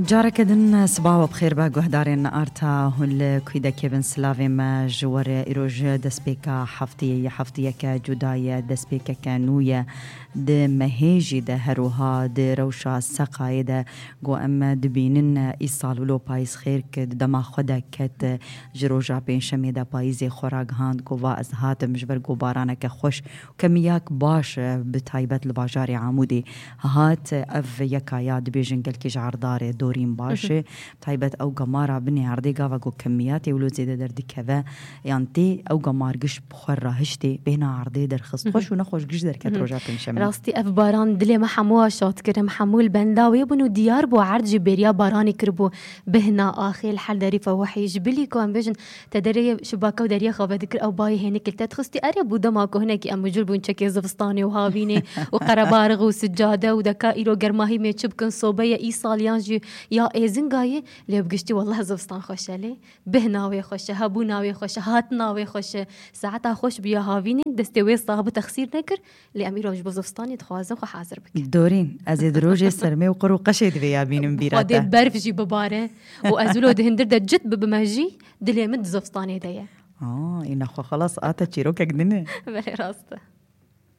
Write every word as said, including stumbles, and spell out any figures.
Careke din sibawa bi xêr be guhdarên Arta hûn li kûdekê bin silavê me ji we re îroj destpêka heftiyê ye, heftiyeke cuda ye, destpêkeke nû ye. Di mehê jî de her wiha di rewşa seqayê de ku em dibînin îsal wilo payîz xêr kir, di dema xwe de ket, ji roja pêncşemê de payîzê xwe ragihand ku va ez hatim ji ber ku baraneke xweş û kemiyak baş bi taybet li bajarê Amûdê hat. Ev yeka ya dibêjin gelkî ji erdarê dorîn baş e. Taybet ew gemara binê erdê gava ku kemiyatê wilo zêde derdikeve yan tê ew gemar giş bi xwe rahiştê bêhna erdê derxist. Xweş û nexweş giş derket roja pêncşemê. Rastî ev baran dilê me hemû şad kir, em hemû li benda wê bûn û diyar bû erd jî bêriya baranê kiribû. Bihna axê li her derîfa wehî ji bilî ku em bêjin te derê şibaka û deriya xave dikir ew bayê hênik li te dixistî. Erê bû dema ku hinekî em mijûl bûn çekê zivistanê û havînê û qerebarix û sicade û deka îro germahî mê çi bikin sobe ye îsal yan jî ya êzingayê lê bi giştî wellah zivistan xweş e lê. Bihna wê xweş e, hebûna wê xweş e, hatina wê xweş e. Saeta xweş bû ya havînê, destê wê sax bû texsîr nekir. Lê em îro ji bo zivistanê dixwazin xwe hazir bikin. Dorîn, ez ê di rojê sermê û qir û qeşê divê ya bînim bîra Xwedê te. Berf jî bibare û ez wilo di hindir de cit bibime jî, dilê min di zivistanê de ye. Aa, îna xwe xelas a te çîrokek din e. Belê rast e.